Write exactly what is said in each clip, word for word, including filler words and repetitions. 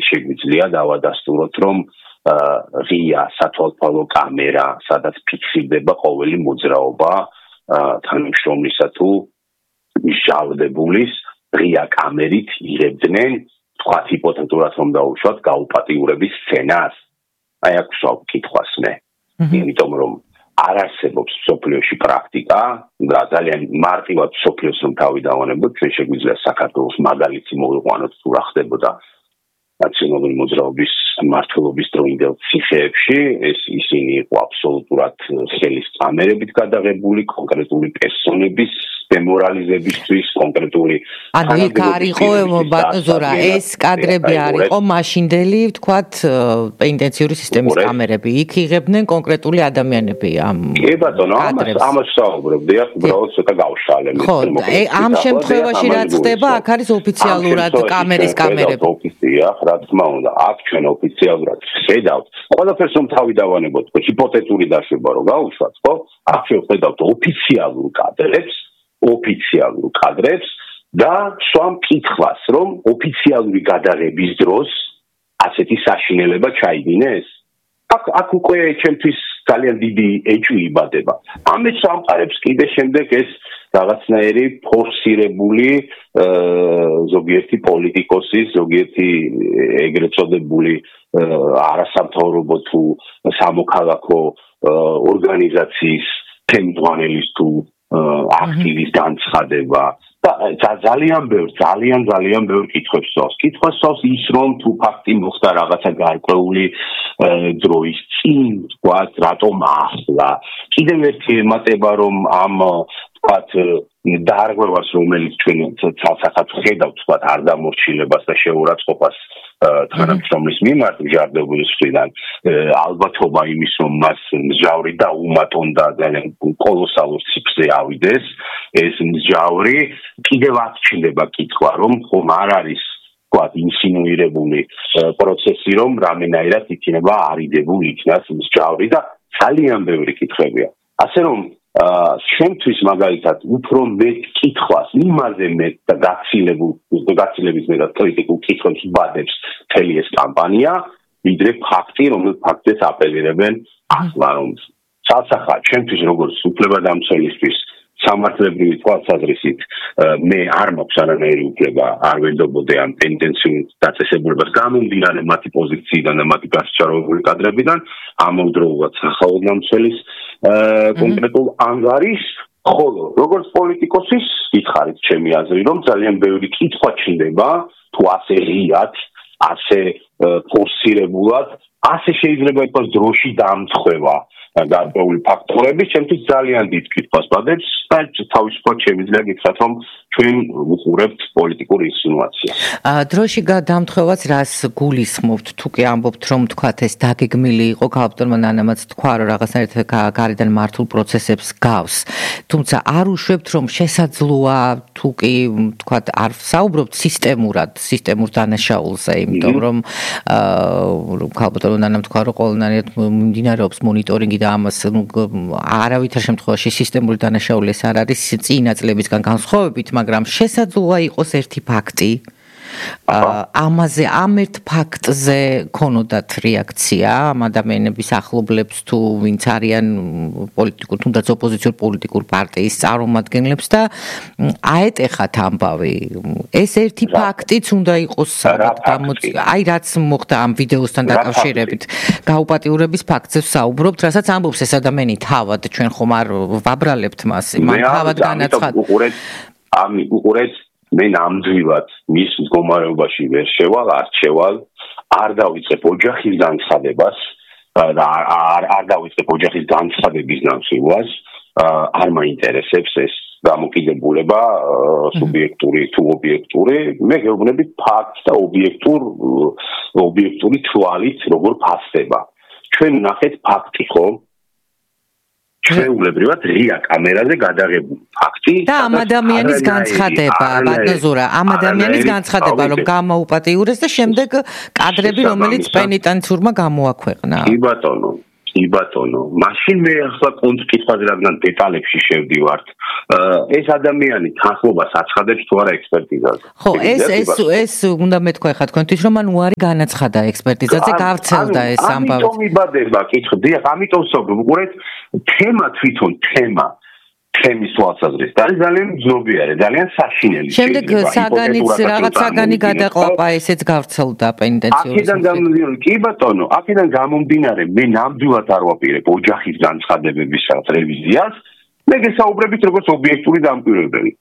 შეგვიძლია დავადასტუროთ, რომ ღია სათვალთვალო კამერა, სადაც ფიქსირდება ყოველი მოძრაობა თანამშრომლისა თუ მსჯავრდებულის ღია კამერით იღებდნენ, თქვათ ჰიპოთეტურად რომ დავუშვათ, გაუპატიურების სცენას. აი აქ ვსვამ კითხვას მე. იმიტომ რომ არ არსებობს მსოფლიოში პრაქტიკა და ძალიან მარტივად მსოფლიოს რომ თავი დავანებოთ, ჩვენ შეგვიძლია საქართველოს მაგალითი მოვიყვანოთ თუ რა ხდებოდა ნაციონალური მოძრაობის მმართველობის დროინდელ ციხეებში, ეს ისინი იყო აბსოლუტურად ხელის წამერებით გადაღებული კონკრეტული პერსონების დემორალიზებისთვის, კონკრეტული ანუ იქ არ იყო ბატონო ზურა, ეს კადრები არ იყო მაშინდელი, ვთქვათ, პენიტენციური სისტემის კამერები, იქ იღებდნენ კონკრეტული ადამიანები ამ კი ბატონო, ამას ამას საუბრობდი, აქ უბრალოდ ცოტა გავშალე. ხო, ამ შემთხვევაში რაც ხდება, აქ არის ოფიციალურად კამერის კამერები. რა თქმა უნდა, აქ ჩვენ ოფიციალურად ხედავთ, ყველაფერს რომ თავი დავანებოთ, ჰიპოთეტური დაშვება რომ გავუშვათ, ხო? აქ ჩვენ ხედავთ ოფიციალურ კადრებს, ოფიციალურ კადრებს და სვამ კითხვას, რომ ოფიციალური გადაღების დროს ასეთი საშინელება ჩაიდინეს. აქ აქ უკვე ჩემთვის ძალიან დიდი ეჭვი იბადება. ამის სამყარებს კიდე შემდეგ ეს რაღაცნაირი ფორსირებული ზოგიერთი პოლიტიკოსის, ზოგიერთი ეგრეთ წოდებული არასამთავრობო თუ სამოქალაქო ორგანიზაციის თემდვანელის თუ აქტივის განცხადება და ძალიან ბევრ, ძალიან ძალიან ბევრ კითხვებს სწავს. კითხვას სწავს ის, რომ თუ ფაქტი მოხდა რაღაცა გარკვეული დროის წინ, ვთქვათ, რატომ ახლა. კიდევ ერთი ემატება, რომ ამ ვთქვათ, დარღვევას, რომელიც ჩვენ ცალსახად ხედავთ, ვთქვათ, არ დამორჩილებას და შეურაცხყოფას თანამშრომლის მიმართ მჟარდებულის მხრიდან, ალბათობა იმის, რომ მას მსჯავრი დაუმატონ და ძალიან კოლოსალურ ციფრზე ავიდეს, ეს მსჯავრი კიდევ აღჩნდება კითხვა, რომ ხომ არ არის ვთქვათ, ინსინუირებული პროცესი, რომ რამენაირად იქნება არიდებული იქნას მსჯავრი და ძალიან ბევრი კითხვებია. ასე რომ შემთთვის მაგალითად უფრო მეტ კითხვას, იმაზე მეტ და გაცილებულ გაცილების მეტად კრიტიკულ კითხვებს ბადებს მთელი ეს კამპანია, ვიდრე ფაქტი, რომელიც ფაქტებს აპელირებენ ახლა, რომ ცალსახად ჩემთვის როგორც უფლებადამცველისთვის სამართლებრივი თვალსაზრისით მე არ მაქვს არანაირი უფლება არ ვენდობოდე ამ პენიტენციურ დაწესებულებას გამომდინარე მათი პოზიციიდან და მათი გასაჩაროებული კადრებიდან ამავდროულად სახელმწიფოს კონკრეტულ ანგარიშს, ხოლო როგორც პოლიტიკოსის გითხარით ჩემი აზრი, რომ ძალიან ბევრი კითხვა ჩნდება, თუ ასე ღიად, ასე ფორსირებულად, ასე შეიძლება იყოს დროში დამცხვევა გარკვეული ფაქტორები, ჩემთვის ძალიან დიდ კითხვას ბადებს და თავისუფლად შემიძლია გითხრათ, რომ ჩვენ ვუყურებთ პოლიტიკურ ინსინუაციას. დროში დამთხოვაც რას გულისხმობთ, თუ კი ამბობთ, რომ თქვათ ეს დაგეგმილი იყო, ქალბატონმა ნანამაც თქვა, რომ რაღაცნაირად გარედან მართულ პროცესებს გავს. თუმცა არ უშვებთ, რომ შესაძლოა, თუ კი თქვათ არ საუბრობთ სისტემურად, სისტემურ დანაშაულზე, იმიტომ რომ ქალბატონმა ნანამ თქვა, რომ ყველანაირად მიმდინარეობს მონიტორინგი და ამას არავითარ შემთხვევაში სისტემური დანაშაული ეს არ არის წინა წლებისგან განსხვავებით, მაგრამ შესაძლოა იყოს ერთი ფაქტი. ამაზე ამ ერთ ფაქტზე ქონოდათ რეაქცია ამ ადამიანების ახლობლებს თუ ვინც არიან პოლიტიკურ თუნდაც ოპოზიციურ პოლიტიკურ პარტიის წარმომადგენლებს და აეტეხათ ამბავი. ეს ერთი ფაქტიც უნდა იყოს გამოწვეული. აი რაც მოხდა ამ ვიდეოსთან დაკავშირებით. გაუპატიურების ფაქტზე ვსაუბრობთ, რასაც ამბობს ეს ადამიანი თავად, ჩვენ ხომ არ ვაბრალებთ მას, მან თავად განაცხადა. ამი უყურეთ მე ნამდვილად მის მდგომარეობაში ვერ შევალ, არ შევალ, არ დავიწყებ ოჯახის განცხადებას და არ არ დავიწყებ ოჯახის განცხადების ნამსხვრევას, არ მაინტერესებს ეს დამოკიდებულება სუბიექტური თუ ობიექტური, მე გეუბნები ფაქტს და ობიექტურ ობიექტური თვალით როგორ ფასდება. ჩვენ ნახეთ ფაქტი, ხო? ჩვეულებრივად ღია კამერაზე გადაღებული ფაქტი და ამ ადამიანის განცხადება, ბატონო ზურა, ამ ადამიანის განცხადება, რომ გამოუპატიურეს და შემდეგ კადრები, რომელიც პენიტენციურმა გამოაქვეყნა. კი ბატონო, კი ბატონო, მაშინ მე ახლა კონკრეტულად რადგან დეტალებში შევდივართ, ეს ადამიანი თანხმობას აცხადებს თუ არა ექსპერტიზაზე. ხო, ეს ეს ეს უნდა მეთქვა ხა თქვენთვის რომ ან უარი განაცხადა ექსპერტიზაზე, გავრცელდა ეს ამბავი. ამიტომ იბადება, კითხდი, ამიტომ ვსაუბრობ, უყურეთ, თემა თვითონ თემა თემის თვალსაზრისით არის ძალიან ძნობიარე, ძალიან საშინელი. შემდეგ საგანიც რაღაც საგანი გადაყლაპა, ესეც გავრცელდა პენტენციურად. აქედან გამომდინარე, კი ბატონო, აქედან გამომდინარე, მე ნამდვილად არ ვაპირებ ოჯახის განცხადებების რევიზიას, მე გესაუბრებით როგორც ობიექტური დამკვირვებელი.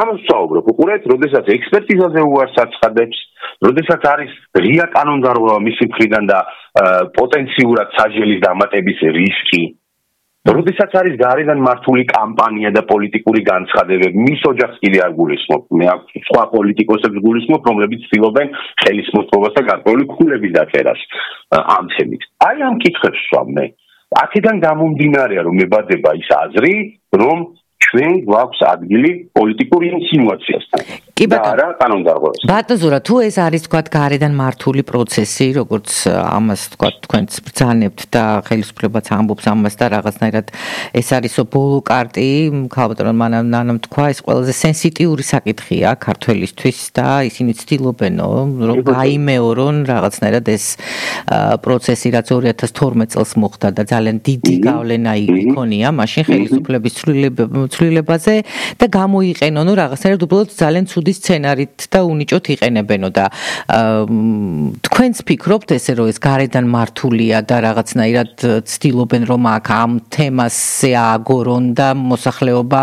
ამას ვსაუბრობ, უყურეთ, როდესაც ექსპერტიზაზე უარს აცხადებს, როდესაც არის ღია კანონდარღვევა მისი მხრიდან და პოტენციურად საჯელის დამატების რისკი. როდესაც არის გარედან მართული კამპანია და პოლიტიკური განცხადებები, მის ოჯახს კიდე არ გულისხმობ. მე აქ სხვა პოლიტიკოსებს გულისხმობ, რომლებიც ცდილობენ ხელისმოწყობას და გარკვეული ქულების დაწერას ამ თემით. აი ამ კითხვებს ვსვამ მე. აქედან გამომდინარეა, რომ მებადება ის აზრი, რომ ჩვენ გვაქვს ადგილი პოლიტიკური ინსინუაციასთან. კი ბატონო, რა კანონდარღვევას. ბატონო, თუ ეს არის თქვა გარედან მართული პროცესი, როგორც ამას თქვა თქვენც ბრძანებთ და ხელისუფლებაც ამბობს ამას და რაღაცნაირად ეს არისო ბოლო კარტი, ქალბატონო მანამ თქვა, ეს ყველაზე სენსიტიური საკითხია ქართველისთვის და ისინი ცდილობენო, რომ გაიმეორონ რაღაცნაირად ეს პროცესი, რაც ორი ათას თორმეტ წელს მოხდა და ძალიან დიდი გავლენა იქონია მაშინ ხელისუფლების ცვლილებაზე და გამოიყენონ რაღაცნაირად უბრალოდ ძალიან ცუდი სცენარით და უნიჭოთ იყენებენო და თქვენც ფიქრობთ ესე რომ ეს გარედან მართულია და რაღაცნაირად ცდილობენ რომ აქ ამ თემაზე ააგორონ და მოსახლეობა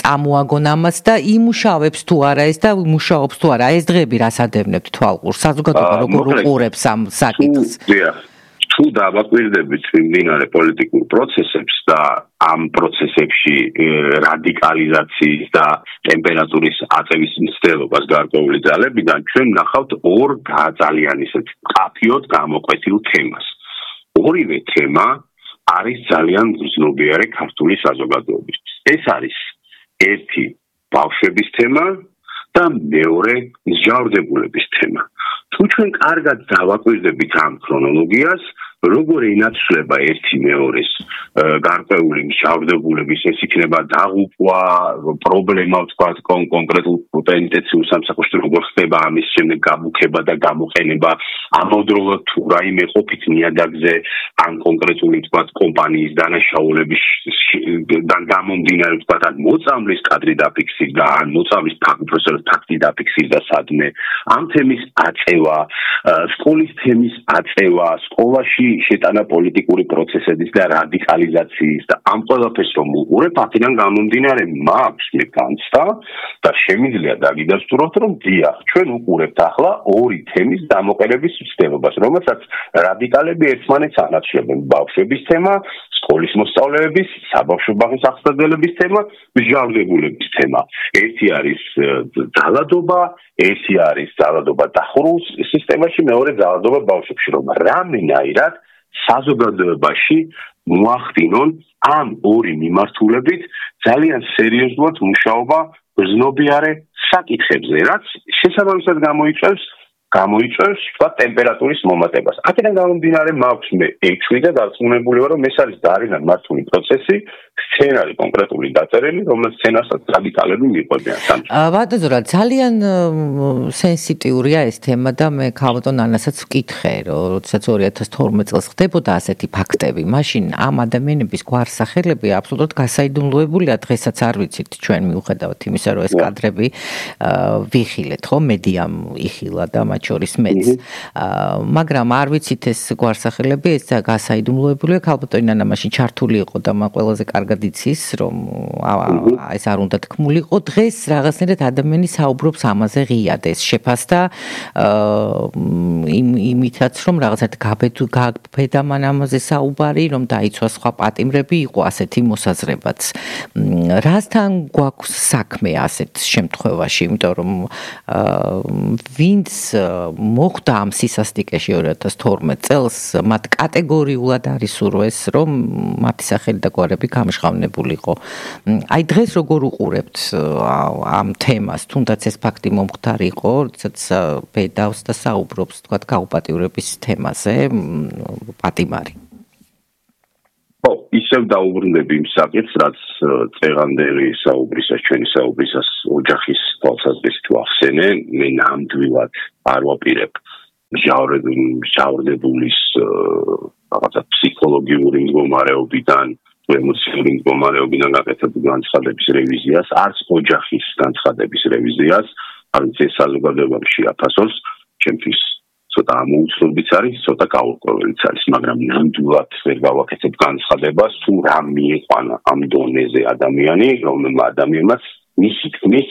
წამოაგონ ამას და იმუშავებს თუ არა ეს და მუშაობს თუ არა ეს დღეები რას ადევნებთ თვალყურს საზოგადოება როგორ უყურებს ამ საკითხს თუ დავაკვირდებით მიმდინარე პოლიტიკურ პროცესებს და ამ პროცესებში რადიკალიზაციის და ტემპერატურის აწევის მცდელობას გარკვეული ძალებიდან ჩვენ ნახავთ ორ ძალიან ისეთ მყაფიოდ გამოკვეთილ თემას. ორივე თემა არის ძალიან ძნობიარე ქართული საზოგადოებისთვის. ეს არის ერთი ბავშვების თემა და მეორე მსჯავრდებულების თემა. თუ ჩვენ კარგად დავაკვირდებით ამ ქრონოლოგიას, როგორ ენაცვლება ერთი მეორეს გარკვეული მსჯავრდებულების, ეს იქნება დაღუპვა, პრობლემა ვთქვათ კონკრეტულ პენტენციურ სამსახურში როგორ ხდება ამის შემდეგ გამუქება და გამოყენება, ამავდროულად თუ რაიმე ყოფით ნიადაგზე ან კონკრეტული ვთქვათ კომპანიის დანაშაულების და გამომდინარე ვთქვათ ან მოწამვლის კადრი დაფიქსირდა, ან მოწამვლის ფაქტი დაფიქსირდა სადმე, ამ თემის აწევა, სკოლის თემის აწევა, სკოლაში შეტანა პოლიტიკური პროცესების და რადიკალიზაციის და ამ ყველაფერს რომ უყურებ, აქედან გამომდინარე მაქვს მე განცდა და შემიძლია დაგიდასტუროთ, რომ დიახ, ჩვენ უყურებთ ახლა ორი თემის დამოყენების მცდელობას, რომელსაც რადიკალები ერთმანეთს ანაცვლებენ. ბავშვების თემა, სკოლის მოსწავლეების, საბავშვო ბაღის აღსაძლებელების თემა, მსჯავრდებულების თემა. ერთი არის ძალადობა, ერთი არის ძალადობა დახურულ სისტემაში, მეორე ძალადობა ბავშვებში, რომ რამენაირად საზოგადოებაში მოახდინონ ამ ორი მიმართულებით ძალიან სერიოზულად მუშაობა გრძნობიარე საკითხებზე, რაც შესაბამისად გამოიწვევს გამოიწვევს თქვა ტემპერატურის მომატებას. აქედან გამომდინარე მაქვს მე ექვსი და დარწმუნებული ვარ, რომ ეს არის ძალიან მართული პროცესი, სცენარი კონკრეტული დაწერილი, რომელიც სცენარსაც რადიკალები მიყვებიან. ბატონო, ძალიან სენსიტიურია ეს თემა და მე ქალბატონ ანასაც ვკითხე, რომ როდესაც ორი ათას თორმეტ წელს ხდებოდა ასეთი ფაქტები, მაშინ ამ ადამიანების გვარსახელები აბსოლუტურად გასაიდუმლოებულია, დღესაც არ ვიცით ჩვენ მიუხედავად იმისა, რომ ეს კადრები ვიხილეთ, ხო, მედიამ იხილა და შორის მეც. მაგრამ არ ვიცით ეს გვარსახელები, ეს გასაიდუმლოებულია, ქალბატონი ნანა მაშინ ჩართული იყო და მან ყველაზე კარგად იცის, რომ ეს არ უნდა თქმულიყო. დღეს რაღაცნაირად ადამიანი საუბრობს ამაზე ღიად, ეს შეფასდა იმითაც, რომ რაღაცნაირად გაბედა მან ამაზე საუბარი, რომ დაიცვა სხვა პატიმრები, იყო ასეთი მოსაზრებაც. რასთან გვაქვს საქმე ასეთ შემთხვევაში, იმიტომ რომ ვინც მოხდა ამ სისასტიკეში ორი ათას თორმეტ წელს, მათ კატეგორიულად არის სურვეს, რომ მათი სახელი და გვარები გამჟღავნებულიყო. აი დღეს როგორ უყურებთ ამ თემას, თუნდაც ეს ფაქტი მომხდარი იყო, როდესაც ბედავს და საუბრობს, თქვათ, გაუპატიურების თემაზე პატიმარი. ისევ დაუბრუნდები იმ საკითხს, რაც წეღანდელი საუბრისას, ჩვენი საუბრისას ოჯახის თვალსაზრისით ვახსენე, მე ნამდვილად არ ვაპირებ მჟავრდებულის რაღაცა ფსიქოლოგიური მდგომარეობიდან, ემოციური მდგომარეობიდან გაკეთებულ განცხადების რევიზიას, არც ოჯახის განცხადების რევიზიას, არც ეს საზოგადოებამ შეაფასოს, ჩემთვის ცოტა ამოუცნობიც არის, ცოტა გაურკვეველიც არის, მაგრამ ნამდვილად ვერ გავაკეთებ განცხადებას, თუ რა მიიყვანა ამ დონეზე ადამიანი, რომელმა ადამიანმაც მისი თქმის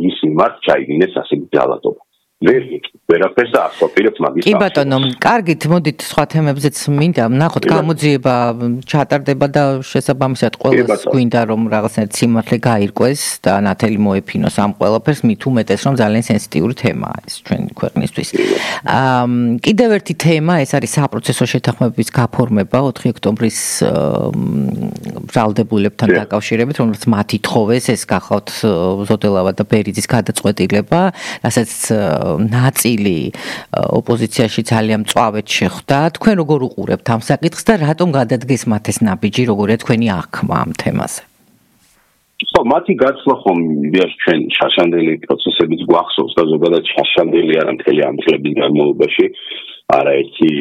მის მიმართ ჩაიგინეს ასეთი ძალადობა. ვერ ვერაფერს და ასვაპირებ მაგის. კი ბატონო, კარგით, მოდით სხვა თემებზეც მინდა ვნახოთ, გამოძიება ჩატარდება და შესაბამისად ყველას გვინდა რომ რაღაცნაირად სიმართლე გაირკვეს და ნათელი მოეფინოს ამ ყველაფერს, მით უმეტეს რომ ძალიან სენსიტიური თემაა ეს ჩვენი ქვეყნისთვის. კიდევ ერთი თემა, ეს არის საპროცესო შეთანხმებების გაფორმება ოთხი ოქტომბრის ბრალდებულებთან დაკავშირებით, რომელსაც მათ ითხოვეს, ეს გახავთ ზოდელავა და ბერიძის გადაწყვეტილება, რასაც ნაწილი ოპოზიციაში ძალიან მწვავედ შეხვდა. თქვენ როგორ უყურებთ ამ საკითხს და რატომ გადადგეს მათ ეს ნაბიჯი, როგორია თქვენი აღქმა ამ თემაზე? ხო, მათი გაცვლა ხომ იდეაში ჩვენ შაშანდელი პროცესებიც გვახსოვს და ზოგადად შაშანდელი არა მთელი ამ წლების განმავლობაში არაერთი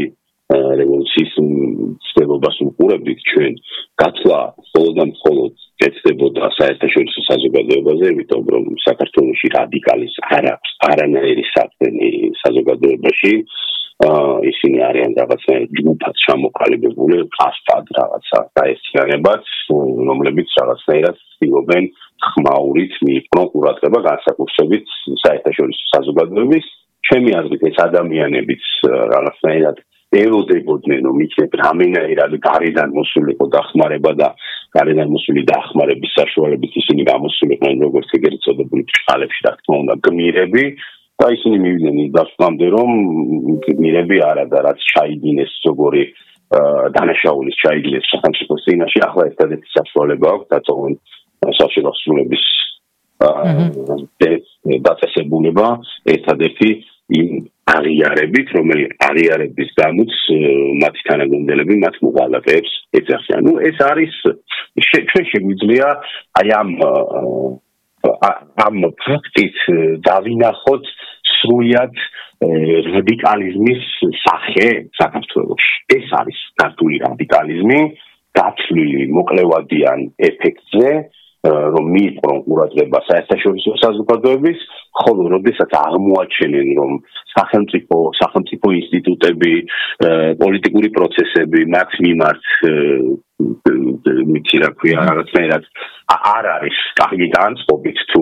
რევოლუციის ცდილობას უყურებდით ჩვენ. გაცვლა მხოლოდ და მხოლოდ ეცდებოდა საერთაშორისო საზოგადოებაზე, იმიტომ რომ საქართველოში რადიკალის არ აქვს არანაირი საქმე საზოგადოებაში. ისინი არიან რაღაცნაირად ჯგუფად ჩამოყალიბებული, კასტად რაღაცა გაერთიანებაც, რომლებიც რაღაცნაირად ცდილობენ ხმაურით მიიპყრონ ყურადღება განსაკუთრებით საერთაშორისო საზოგადოების. ჩემი აზრით ეს ადამიანებიც რაღაცნაირად ელოდებოდნენ, რომ იქნებ რამენაირად გარედან მოსულიყო დახმარება და გარედან მოსული დახმარების საშუალებით ისინი გამოსულიყვნენ როგორც ეგრეთ წოდებული ბრჭყალებში, რა თქმა უნდა, გმირები და ისინი მივიდნენ ის დასკვნამდე, რომ გმირები არა და რაც ჩაიგინეს ზოგორი დანაშაულის ჩაიგინეს სახელმწიფოს წინაშე, ახლა ერთადერთი საშუალება აქვს დაწოვონ საშუალო სრულების დაწესებულება, ერთადერთი იმ აღიარებით, რომელიც აღიარების გამოც მათი თანაგუნდელები მათ მოვალეებს ეძახიან. ნუ ეს არის ჩვენ შეგვიძლია აი ამ ამ ფაქტით დავინახოთ სრულად რადიკალიზმის სახე საქართველოში. ეს არის ქართული რადიკალიზმი, დაცლილი მოკლევადიან ეფექტზე, რომ მიიპყრონ ყურადღება საერთაშორისო საზოგადოების, ხოლო როდესაც აღმოაჩენენ, რომ სახელმწიფო სახელმწიფო ინსტიტუტები, პოლიტიკური პროცესები მათ მიმართ მიცი რა ქვია, რაღაცნაირად არ არის კარგი განწყობით, თუ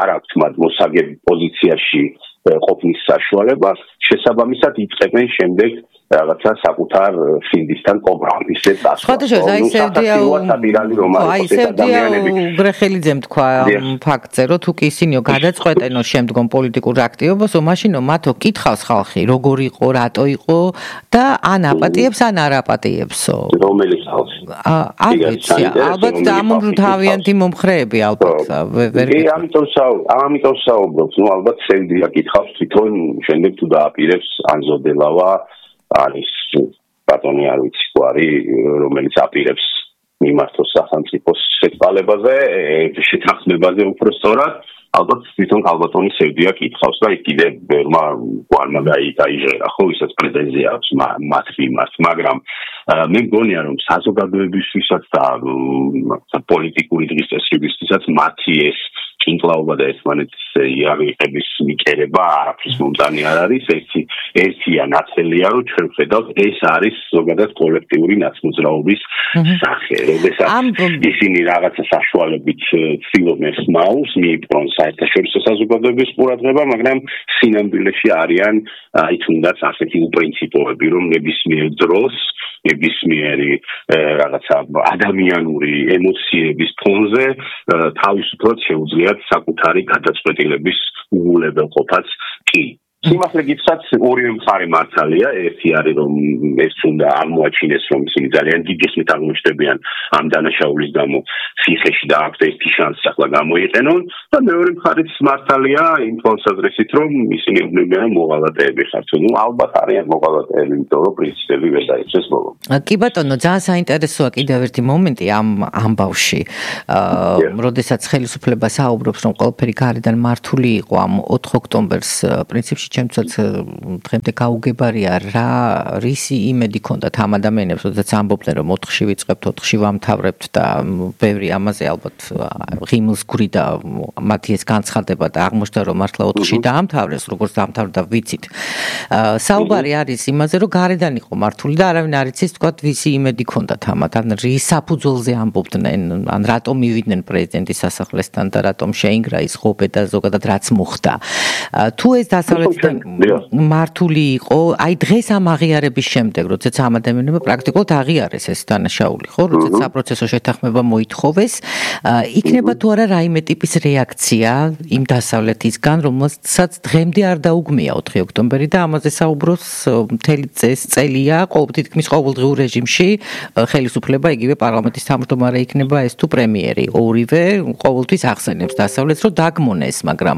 არ აქვს მათ მოსაგებ პოზიციაში ყოფნის საშუალება, შესაბამისად იწყებენ შემდეგ რაღაცა საკუთარ ფინდისთან კომპრომისებს ასვას. აი სევდია უგრეხელიძემ თქვა ფაქტზე, რომ თუ კი ისინიო გადაწყვეტენო შემდგომ პოლიტიკურ აქტივობასო, მაშინო მათო კითხავს ხალხი, როგორ იყო, რატო იყო და ან აპატიებს, ან არ აპატიებსო. რომელი ხალხი? არ ვიცი, ალბათ ამომრთავიანთი მომხრეები ალბათ. კი, ამიტომ ამიტომ საუბრობთ, ნუ ალბათ სევდია კითხავს თვითონ შემდეგ თუ დააპირებს ან ზოდელავა არის ბატონი არ ვიცი თუ არის, რომელიც აპირებს მიმართოს სახელმწიფოს შეცვალებაზე, შეთანხმებაზე უფრო სწორად, ალბათ თვითონ ქალბატონი სევდია კითხავს და კიდე ბევრმა გვარმა გაიჟღერა, ხო, ისაც პრეტენზია აქვს მათ მიმართ, მაგრამ მე მგონია, რომ საზოგადოებისთვისაც და პოლიტიკური დღის წესრიგისთვისაც მათი ეს კინკლაობა და ერთმანეთის იარაღების მიკერება არაფრის მომწანი არ არის, ერთი ერთია ნაცელია, რომ ჩვენ ვხედავთ, ეს არის ზოგადად კოლექტიური ნაცმოძრაობის სახე. როდესაც ისინი რაღაცა საშუალებით ცდილობენ ხმაურს მიიპყრონ საერთაშორისო საზოგადოების ყურადღება, მაგრამ სინამდვილეში არიან აი თუნდაც ასეთი უპრინციპოები, რომ ნებისმიერ დროს ნებისმიერი რაღაცა ადამიანური ემოციების ფონზე თავისუფლად შეუძლიათ საკუთარი გადაწყვეტილების უგულებელყოფაც კი სიმართლე გითხრათ, ორივე მხარე მართალია, ერთი არის რომ ეს უნდა აღმოაჩინეს რომ ისინი ძალიან დიდი ხნით აღმოჩნდებიან ამ დანაშაულის გამო ციხეში და აქვს ერთი შანსი ახლა გამოიყენონ და მეორე მხარეც მართალია იმ თვალსაზრისით რომ ისინი უნებიან მოღალატეები ხართ. ნუ ალბათ არიან მოღალატეები, იმიტომ რომ პრინციპები ვერ დაიცეს ბოლო. კი ბატონო, ძალიან საინტერესოა კიდევ ერთი მომენტი ამ ამბავში. აა, როდესაც ხელისუფლება საუბრობს რომ ყველაფერი გარედან მართული იყო ამ ოთხ ოქტომბერს პრინციპში ჩემთვისაც დღემდე გაუგებარია რა რისი იმედი ქონდათ ამ ადამიანებს, როდესაც ამბობდნენ რომ ოთხში ვიწყებთ, ოთხში ვამთავრებთ და ბევრი ამაზე ალბათ ღიმილს გვრიდა მათი ეს განცხადება და აღმოჩნდა რომ მართლა ოთხში დაამთავრეს, როგორც დაამთავრდა ვიცით. საუბარი არის იმაზე რომ გარედან იყო მართული და არავინ არ იცის თქვათ ვისი იმედი ქონდათ ამათ, ან რის საფუძველზე ამბობდნენ, ან რატომ მივიდნენ პრეზიდენტის სასახლესთან და რატომ შეინგრა ის ღობე და ზოგადად რაც მოხდა. თუ ეს დასავლეთიდან მართული იყო, აი დღეს ამ აღიარების შემდეგ, როდესაც ამ ადამიანებმა პრაქტიკულად აღიარეს ეს დანაშაული, ხო, როდესაც საპროცესო შეთანხმება მოითხოვეს, იქნება თუ არა რაიმე ტიპის რეაქცია იმ დასავლეთისგან, რომელსაც დღემდე არ დაუგმია ოთხი ოქტომბერი და ამაზე საუბრობს მთელი წელია, თითქმის ყოველდღიურ რეჟიმში ხელისუფლება, იგივე პარლამენტის თავმჯდომარე იქნება ეს თუ პრემიერი, ორივე ყოველთვის ახსენებს დასავლეთს, რომ დაგმონეს, მაგრამ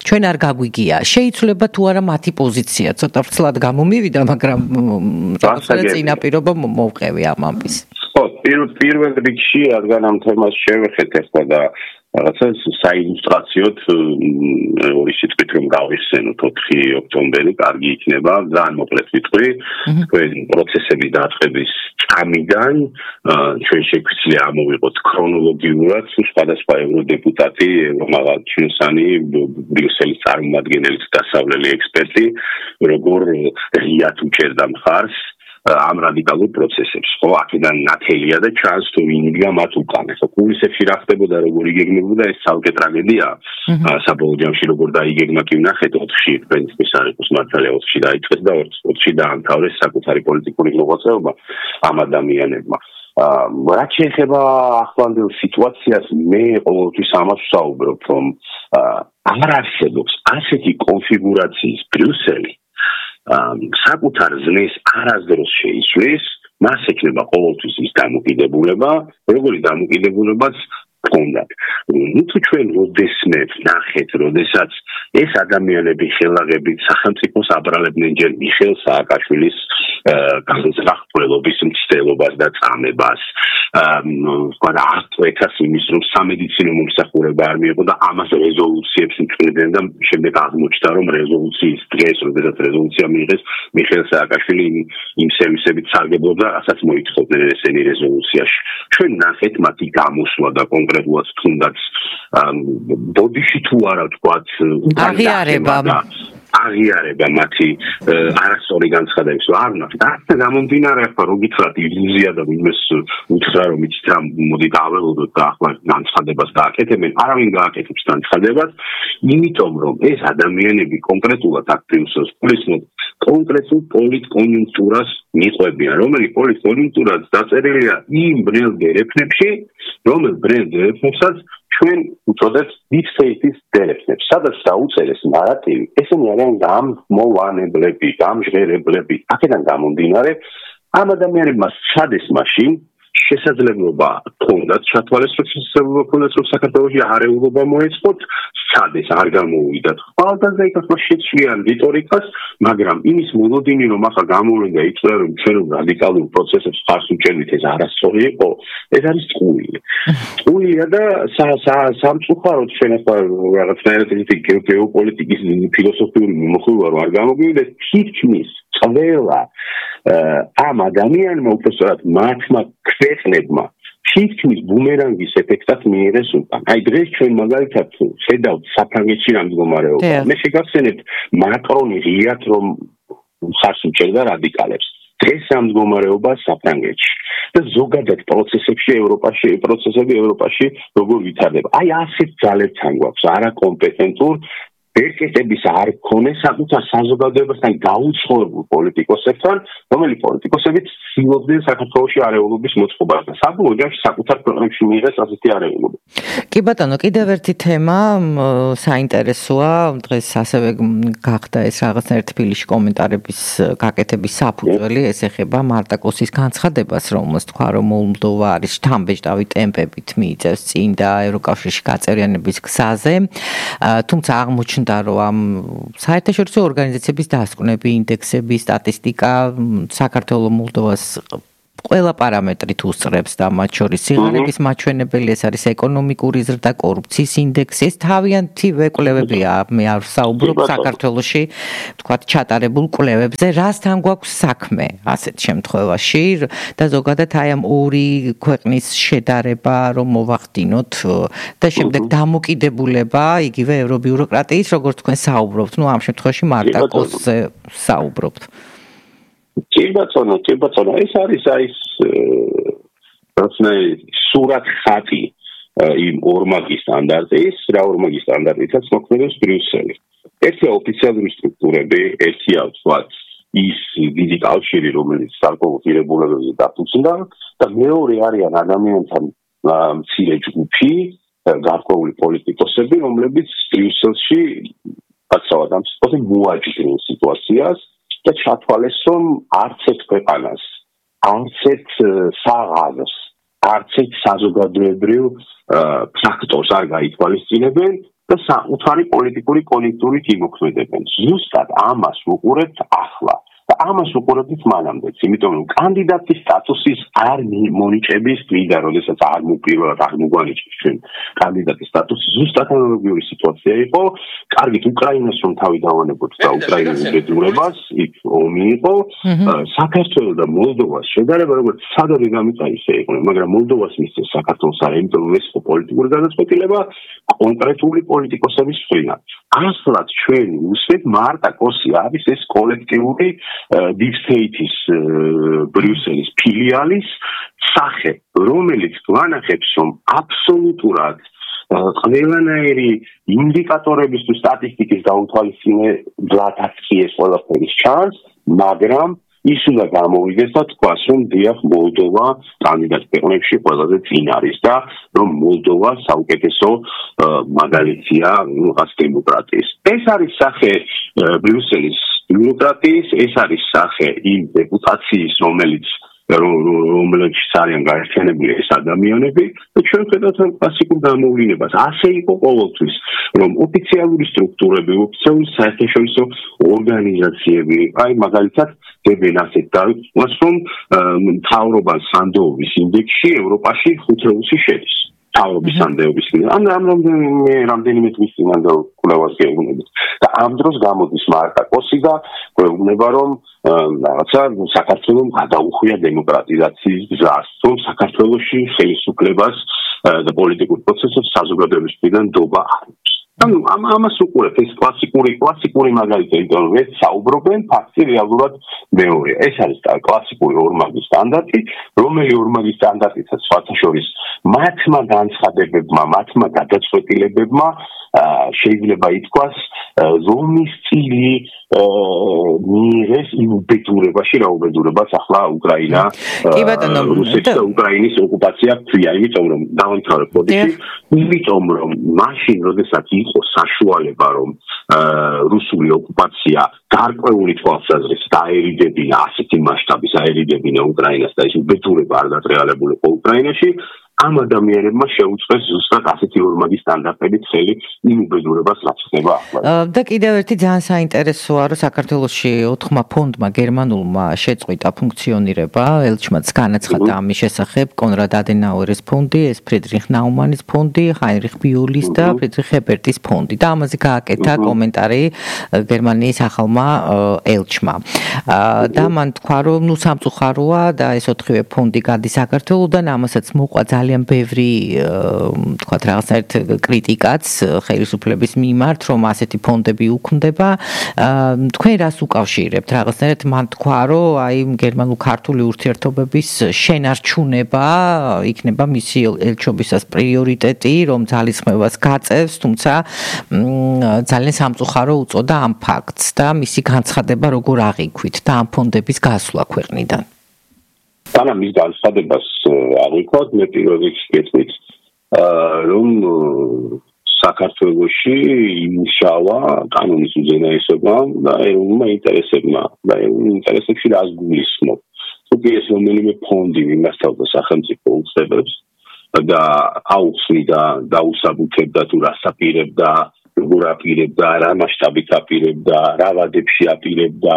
ჩვენ არ გაგვიგია. შეიცვლება თუ არა მათი პოზიცია, ცოტა ვრცლად გამომივიდა, მაგრამ რაღაცა წინაპირობა მოვყევი ამ ამბის. ხო, პირველ რიგში რადგან ამ თემას შევეხეთ ახლა და რაღაცა საილუსტრაციოდ ორი სიტყვით რომ გავიხსენოთ ოთხი ოქტომბერი, კარგი იქნება, ძალიან მოკლედ ვიტყვი, თქვენ პროცესების დაწყების წამიდან ჩვენ შეგვიძლია ამოვიღოთ ქრონოლოგიურად სხვადასხვა ევროდეპუტატი, ევრომაღალჩინოსანი, ბრიუსელის წარმომადგენელი, დასავლელი ექსპერტი, როგორ ღიად უჭერდა მხარს ამ რადიკალურ პროცესებს, ხო, აქედან ნათელია და ჩანს თუ ვინ იდგა მათ უკან. ხო, კულისებში რა ხდებოდა, როგორ იგეგმებოდა, ეს ცალკე ტრაგედია. საბოლოო ჯამში როგორ დაიგეგმა კი ვნახეთ ოთხში, პრინციპის არ იყოს მართალია ოთხში დაიწყეს და ოთხში დაამთავრეს საკუთარი პოლიტიკური მოღვაწეობა ამ ადამიანებმა. რაც შეეხება ახლანდელ სიტუაციას, მე ყოველთვის ამას ვსაუბრობ, რომ არ არსებობს ასეთი კონფიგურაციის ბრიუსელი, საკუთარ ზნეს არასდროს შეიცვლის, მას ექნება ყოველთვის ის დამოკიდებულება, როგორი დამოკიდებულებაც ჰქონდათ. ნუ თუ ჩვენ როდესმე ნახეთ, როდესაც ეს ადამიანები ხელაღებით სახელმწიფოს აბრალებდნენ ჯერ მიხეილ სააკაშვილის განზრახველობის მცდელობას და წამებას, და აწყვეტას იმის, რომ სამედიცინო მომსახურება არ მიიღო და ამას რეზოლუციებს მწვდიდნენ და შემდეგ აღმოჩნდა, რომ რეზოლუციის დღეს, როდესაც რეზოლუცია მიიღეს, მიხეილ სააკაშვილი იმ სერვისებით სარგებლობდა, რასაც მოითხოვდნენ ესენი რეზოლუციაში. ჩვენ ნახეთ მათი გამოსვლა და კონკრეტულად თუნდაც ბოდიში თუ არა თქვათ აღიარება აღიარება მათი არასწორი განცხადებების არ ვნახეთ. და გამომდინარე ახლა რო გითხრათ ილუზია და ვინმეს უთხრა რომ იცით რა მოდი დაველოდოთ და ახლა განცხადებას გააკეთებენ, არავინ გააკეთებს განცხადებას, იმიტომ რომ ეს ადამიანები კონკრეტულად აქტივს პულისმოდ კონკრეტულ პოლიტკონიუნქტურას მიყვებიან, რომელიც პოლიტკონიუნქტურაც დაწერილია იმ ბრელ დერეფნებში, რომელ ბრელ დერეფნებსაც ჩვენ უწოდებთ deep state-ის დერეფნებს, სადაც დაუწერეს ნარატივი, ესენი არიან გამმოვანებლები, გამჟღერებლები. აქედან გამომდინარე, ამ ადამიანებმა სცადეს მაშინ შესაძლებლობა ჰქონდათ ჩათვალისწინებულება ჰქონდათ რომ საქართველოში არეულობა მოეწყოთ, სცადეს არ გამოუვიდათ ხვალდაზე იქ ახლა შეცვლიან რიტორიკას, მაგრამ იმის მოლოდინი რომ ახლა გამოვლენ და იწვია რომ ჩვენ რადიკალურ პროცესებს ხარს უჭერდით, ეს არასწორი იყო, ეს არის წყურვილი. წყურვილია და სამწუხაროდ ჩვენ ახლა რაღაცნაირად ისეთი გეოპოლიტიკის ფილოსოფიური მიმოხილვა რომ არ გამოგვივიდეს, თითქმის ყველა ამ ადამიანმა უბრალოდ მათმა ქვეყნებმა თითქმის ბუმერანგის ეფექტად მიიღეს უკან. აი დღეს ჩვენ მაგალითად ხედავთ საფრანგეთში რა მდგომარეობა. მე შეგახსენებთ მაკრონი ღიად რომ ხარს უჭერდა რადიკალებს. დღეს ამ მდგომარეობა საფრანგეთში და ზოგადად პროცესებში ევროპაში, პროცესები ევროპაში როგორ ვითარდება. აი ასეთ ძალებთან გვაქვს არაკომპეტენტურ ბერკეტების არ ქონეს საკუთარ საზოგადოებასთან გაუცხოებულ პოლიტიკოსებთან, რომელი პოლიტიკოსებიც ცდილობდნენ საქართველოში არეულობის მოწყობას და საბოლოო ჯამში საკუთარ ქვეყნებში მიიღეს ასეთი არეულობა. კი ბატონო, კიდევ ერთი თემა საინტერესოა, დღეს ასევე გახდა ეს რაღაცნაირად თბილისში კომენტარების გაკეთების საფუძველი, ეს ეხება მარტაკოსის განცხადებას, რომელსაც თქვა, რომ მოლდოვა არის შთამბეჭდავი ტემპებით მიიწევს წინ და ევროკავშირში გაწევრიანების გზაზე. თუმცა აღმოჩნდა, რომ ამ საერთაშორისო ორგანიზაციების დასკვნები, ინდექსები, სტატისტიკა საქართველოს მოლდოვას ყველა პარამეტრით უსწრებს და მათ შორის სიღარიბის მაჩვენებელი, ეს არის ეკონომიკური ზრდა, კორუფციის ინდექსი, ეს თავიანთი კვლევებია, მე არ ვსაუბრობ საქართველოში, თქვათ, ჩატარებულ კვლევებზე, რასთან გვაქვს საქმე ასეთ შემთხვევაში და ზოგადად აი ამ ორი ქვეყნის შედარება რომ მოვახდინოთ და შემდეგ დამოკიდებულება იგივე ევრობიუროკრატიის, როგორც თქვენ საუბრობთ, ну ამ შემთხვევაში მარტაკოსზე საუბრობთ. კი ბატონო, კი ბატონო, ეს არის ის რაღაცნაირი სურათ ხატი იმ ორმაგი სტანდარტის, რა ორმაგი სტანდარტითაც მოქმედებს ბრიუსელი. ერთია ოფიციალური სტრუქტურები, ერთია ვთქვათ ის დიდი კავშირი, რომელიც საკოლმო ღირებულებებზე დაფუძნდა და მეორე არიან ადამიანთა მცირე ჯგუფი, გარკვეული პოლიტიკოსები, რომლებიც ბრიუსელში კაცრავად ამ სიტყვაზე მოაჯდნენ სიტუაციას და ჩათვალეს, რომ არც ერთ ქვეყანას, არც ერთ საღამოს, არც ერთ საზოგადოებრივ ფაქტორს არ გაითვალისწინებენ და საკუთარი პოლიტიკური კონიუნქტურით იმოქმედებენ. ზუსტად ამას ვუყურებთ ახლა და ამას ვუყურებთ მანამდეც, იმიტომ რომ კანდიდატის სტატუსის არ მონიჭების დღიდან, როდესაც არ მოპირველად არ მოგვანიჭეს ჩვენ კანდიდატის სტატუსი, ზუსტად ანალოგიური სიტუაცია იყო. კარგით, უკრაინას რომ თავი დავანებოთ და უკრაინის უბედურებას, იქ ომი იყო, საქართველოს და მოლდოვას შედარება როგორც სადარი გამიწაისე იყო, მაგრამ მოლდოვას მისცეს საქართველოს არა, იმიტომ რომ ეს იყო პოლიტიკური გადაწყვეტილება კონკრეტული პოლიტიკოსების მხრიდან. ასლად ჩვენ უსვით მარტაკოსი არის ეს კოლექტიური deep state-ის ბრიუსელის ფილიალის სახე, რომელიც გვანახებს, რომ აბსოლუტურად ყველანაირი ინდიკატორების თუ სტატისტიკის დაუთვალისწინებლადაც კი ეს ყველაფერი ჩანს, მაგრამ ის უნდა გამოვიდეს და თქვას, რომ დიახ, მოლდოვა კანდიდატ ქვეყნებში ყველაზე წინ არის და რომ მოლდოვა საუკეთესო მაგალითია რაღაც დემოკრატიის. ეს არის სახე ბრიუსელის ბიუროკრატიის, ეს არის სახე იმ დეპუტაციის, რომელიც რომელშიც არიან გაერთიანებული ეს ადამიანები და ჩვენ ხედავთ კლასიკურ გამოვლინებას. ასე იყო ყოველთვის, რომ ოფიციალური სტრუქტურები, ოფიციალური საერთაშორისო ორგანიზაციები, აი მაგალითად დებენ ასეთ დავიწყოს, რომ მთავრობა სანდოობის ინდექსში ევროპაში ხუთეულში შედის. თავობის სანდოობის ინდექსში. ამ რამდენიმე რამდენიმე თვის წინანდ კვლევას გეუბნებით. და ამ დროს გამოდის მარტაკოსი და გვეუბნება, რომ რაღაცა საქართველოს გადაუხვია დემოკრატიზაციის გზას, რომ საქართველოში ხელისუფლებას და პოლიტიკურ პროცესებს საზოგადოების მხრიდან ნდობა არ აქვს. ანუ ამას უყურებთ, ეს კლასიკური კლასიკური მაგალითია, იმიტომ რომ ეს საუბრობენ ფაქტი რეალურად მეორეა. ეს არის კლასიკური ორმაგი სტანდარტი, რომელი ორმაგი სტანდარტიცაც სხვათა შორის მათმა განცხადებებმა, მათმა გადაწყვეტილებებმა შეიძლება ითქვას, რომის წილი მიიღეს იმ უბედურებაში, რა უბედურებას ახლა უკრაინა რუსეთის და უკრაინის ოკუპაცია ქვია, იმიტომ რომ დავამთავრებ ბოდიში, იმიტომ რომ მაშინ, როდესაც იყო საშუალება, რომ რუსული ოკუპაცია გარკვეული თვალსაზრისით დაერიდებინა, ასეთი მასშტაბის აერიდებინა უკრაინას და ეს უბედურება არ გატრიალებულიყო უკრაინაში, ამ ადამიანებმა შეუწყეს ზუსტად ასეთი ორმაგი სტანდარტებით ხელი იმ უბედურებას, რაც ხდება ახლა. და კიდევ ერთი ძალიან საინტერესოა, რომ საქართველოში ოთხმა ფონდმა გერმანულმა შეწყვიტა ფუნქციონირება, ელჩმაც განაცხადა ამის შესახებ, კონრად ადენაუერის ფონდი, ეს ფრიდრიხ ნაუმანის ფონდი, ჰაინრიხ ბიულის და ფრიდრიხ ჰერბერტის ფონდი და ამაზე გააკეთა კომენტარი გერმანიის ახალმა ელჩმა. და მან თქვა, რომ ნუ სამწუხაროა და ეს ოთხივე ფონდი გადის საქართველოდან, ამასაც მოყვა ძალიან ბევრი თქვათ რაღაცნაირად კრიტიკაც ხელისუფლების მიმართ, რომ ასეთი ფონდები უქმდება. თქვენ რას უკავშირებთ? რაღაცნაირად მან თქვა, რომ აი გერმანულ-ქართული ურთიერთობების შენარჩუნება იქნება მისი ელჩობისას პრიორიტეტი, რომ ძალისხმევას გაწევს, თუმცა ძალიან სამწუხარო უწოდა ამ ფაქტს და მისი განცხადება როგორ აღიქვით და ამ ფონდების გასვლა ქვეყნიდან. თანა მის განცხადებას აღიქვათ, მე პირველ რიგში გეტყვით, რომ საქართველოში იმუშავა კანონის უზენაესობამ და ეროვნულმა ინტერესებმა და ეროვნულ ინტერესებში რას გულისხმობ. თუკი ეს რომელიმე ფონდი მიმართავდა სახელმწიფო უწყებებს და აუხსნიდა და დაუსაბუთებდა თუ რას აპირებდა, როგორ აპირებდა, რა მასშტაბით აპირებდა, რა ვადებში აპირებდა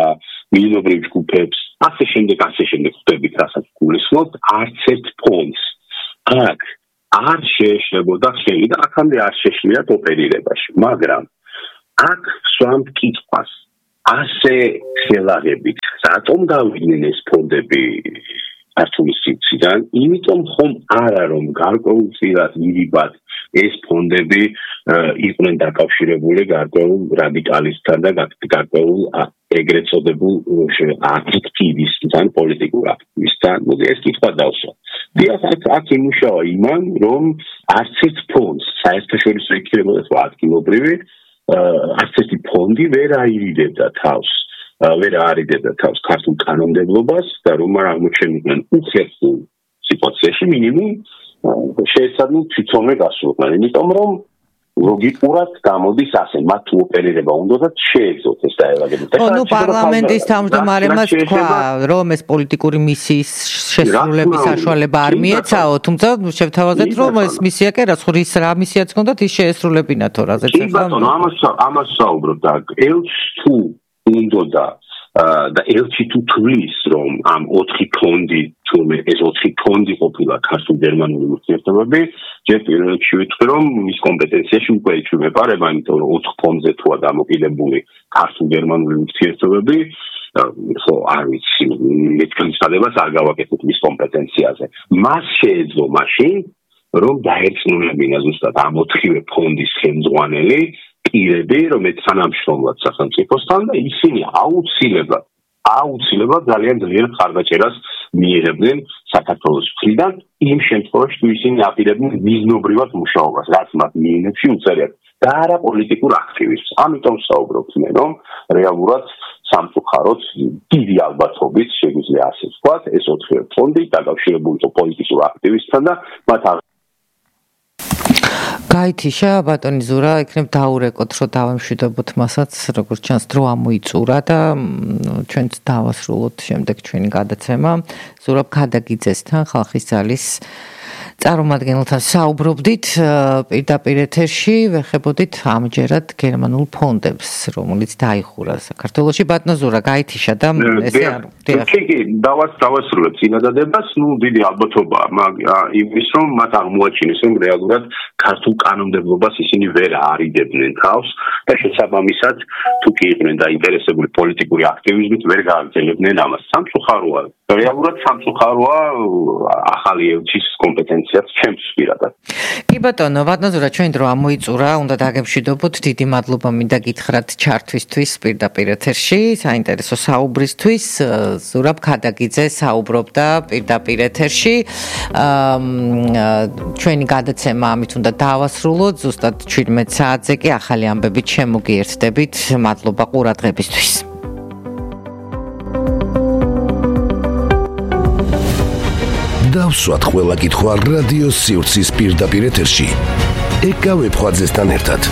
მილინობრივ ჯგუფებს, ასე შემდეგ, ასე შემდეგ ხდებით, რასაც გულისხმობთ, არც ერთ ფონდს აქ არ შეეშლებოდა ხელი და აქამდე არ შეშლიათ ოპერირებაში, მაგრამ აქ სვამთ კითხვას, ასე ხელაღებით, რატომ გავიდნენ ეს ფონდები ქართული სივრციდან, იმიტომ ხომ არა რომ გარკვეულწილად ირიბად ეს ფონდები იყვნენ დაკავშირებული გარკვეულ რადიკალისტთან და გარკვეულ ეგრეთ წოდებულ აქტივისტთან, პოლიტიკურ აქტივისტთან. მოდი ეს კითხვა დავსვა. დიახ, აქ იმუშავა იმან, რომ არც ერთ ფონდს საერთაშორისო იქნებოდა თუ ადგილობრივი, არც ერთი ფონდი ვერ აირიდებდა თავს. ვერ აარიდებდა თავს ქართულ კანონმდებლობას და რომ არ აღმოჩენიდნენ უხერხულ სიტუაციაში მინიმუმ შეეცადნენ თვითონვე გასულყვნენ, იმიტომ რომ ლოგიკურად გამოდის ასე, მათ თუ ოპერირება უნდათ შეეძლოთ ეს დაავადებები. ნუ პარლამენტის თავმჯდომარემაც თქვა, რომ ეს პოლიტიკური მისიის შესრულების საშუალება არ მიეცაო, თუმცა შევთავაზეთ, რომ ეს მისია კი რაც ხრის რა მისიაც ჰქონდათ, ის შეესრულებინათ რაზეც. კი ბატონო, ამას ამას საუბრობ და ელჩ თუ უნდა და ელჩი თუ თulis რომ ამ ოთხი ფონდი თუმე ეს ოთხი ფონდი ყოფილა ქართულ-გერმანული ურთიერთობები, ჯერ პირველ რიგში ვიტყვი რომ მის კომპეტენციაში უკვე იჩვენება, იმიტომ რომ ოთხ ფონდზე თუა დამოკიდებული ქართულ-გერმანული ურთიერთობები, ხო არ ვიცი, ეს განცხადებას არ გავაკეთებ მის კომპეტენციაზე. მას შეეძლო მაშინ რომ დაერწმუნებინა ზუსტად ამ ოთხივე ფონდის ხელმძღვანელი პირები, რომელიც თანამშრომლად სახელმწიფოსთან და ისინი აუცილებლად, აუცილებლად ძალიან ძლიერ ხარდაჭერას მიიღებდნენ საქართველოს მხრიდან, იმ შემთხვევაში თუ ისინი აპირებდნენ მიზნობრივად მუშაობას, რაც მათ მიენებში უწერიათ და არა პოლიტიკურ აქტივისტს. ამიტომ საუბრობთ მე, რომ რეალურად სამწუხაროდ დიდი ალბათობით შეგვიძლია ასე ვთქვათ, ეს ოთხივე ფონდი დაკავშირებული იყო პოლიტიკურ აქტივისტთან და მათ გაითიშა ბატონი ზურა, იქნებ დაურეკოთ, რომ დავემშვიდობოთ მასაც, როგორც ჩანს დრო ამოიწურა და ჩვენც დავასრულოთ შემდეგ ჩვენი გადაცემა. ზურაბ ქადაგიძესთან, ხალხის ძალის წარმომადგენელთან საუბრობდით პირდაპირ ეთერში, ვეხებოდით ამჯერად გერმანულ ფონდებს, რომელიც დაიხურა საქართველოში. ბატონო ზურა, გაითიშა და ესე არ კი კი დავას დავასრულებ წინადადებას, ნუ დიდი ალბათობაა იმის რომ მათ აღმოაჩინეს რომ რეალურად ქართულ კანონმდებლობას ისინი ვერ აარიდებდნენ თავს და შესაბამისად თუ კი იყვნენ დაინტერესებული პოლიტიკური აქტივიზმით ვერ გააგრძელებდნენ ამას. სამწუხაროა, რეალურად სამწუხაროა ახალი ელჩის კომპეტენციაც ჩემს პირადად. კი ბატონო, ბატონო ზურა, ჩვენ დრო ამოიწურა, უნდა დაგემშვიდობოთ. დიდი მადლობა მინდა გითხრათ ჩართვისთვის პირდაპირ ეთერში, საინტერესო საუბრისთვის. ზურაბ ქადაგიძე საუბრობდა პირდაპირ ეთერში. ჩვენი გადაცემა ამით უნდა დავასრულოთ. ზუსტად შვიდმეტ საათზე კი ახალი ამბებით შემოგიერთდებით. მადლობა ყურადღებისთვის. დავსვათ ყველა კითხვა რადიო სივრცის პირდაპირ ეთერში. ეკა ვებხვაძესთან ერთად.